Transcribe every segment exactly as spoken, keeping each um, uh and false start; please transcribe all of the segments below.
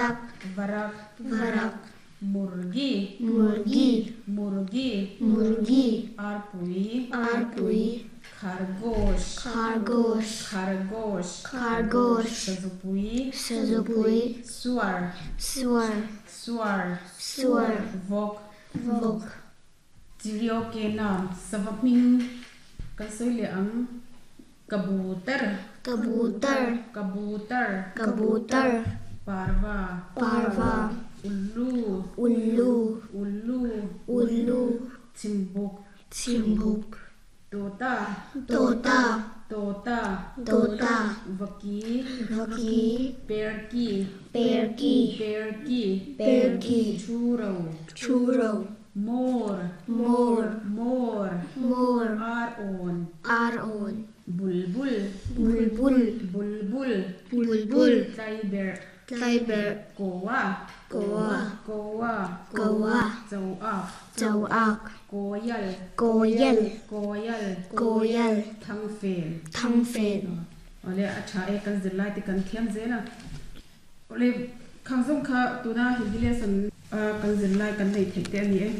Batak Varak Varak Murgi Murgi Murgi Murgi Arpui Arpui Khargosh Khargosh Khargosh Khargosh Sazupui Sazupui Suar Suar Suar Suar Vok Vok Chirio ke nam savapming kan soi le ang kabutar Kabutar Kabutar Kabutar Parva Parva Ullu Ullu Ullu Ullu Chimbuk Chimbuk Tota Tota Tota Tota Vaki Vaki Perki Perki Perki Perki Churo Churo More More More More Aron Aron Bulbul Bulbul Bulbul Bulbul Tiber Tiber Goa Goa Goa Goa Chauak Chauak Koyal Koyal Koyal Koyal Thangfen Thangfen Ole acha e kan zirlai te kan thiam zela ole khangzong kha tuna Hindi lesson kan zirlai kan nei thei te ani e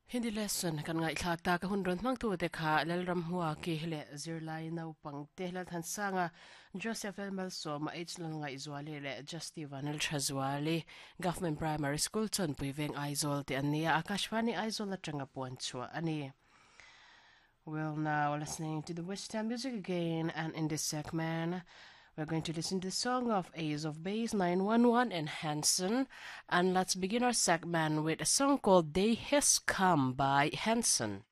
Hindi lesson kan ngai thlak ta ka hun ron mang tu te kha lalram huwa ki hele zirlai nau pang te hlal than sanga Joseph Elmal Soma H lal ngai zuali le Justy Vanel Thazwali Government Primary School chon puiveng Aizawl te ania Akashvani Aizawl atanga puan chua ani. Well, now listening to the Western music again, and in this segment we're going to listen to the song of Ace of Base, nine one one and Hanson. And let's begin our segment with a song called Day Has Come by Hanson.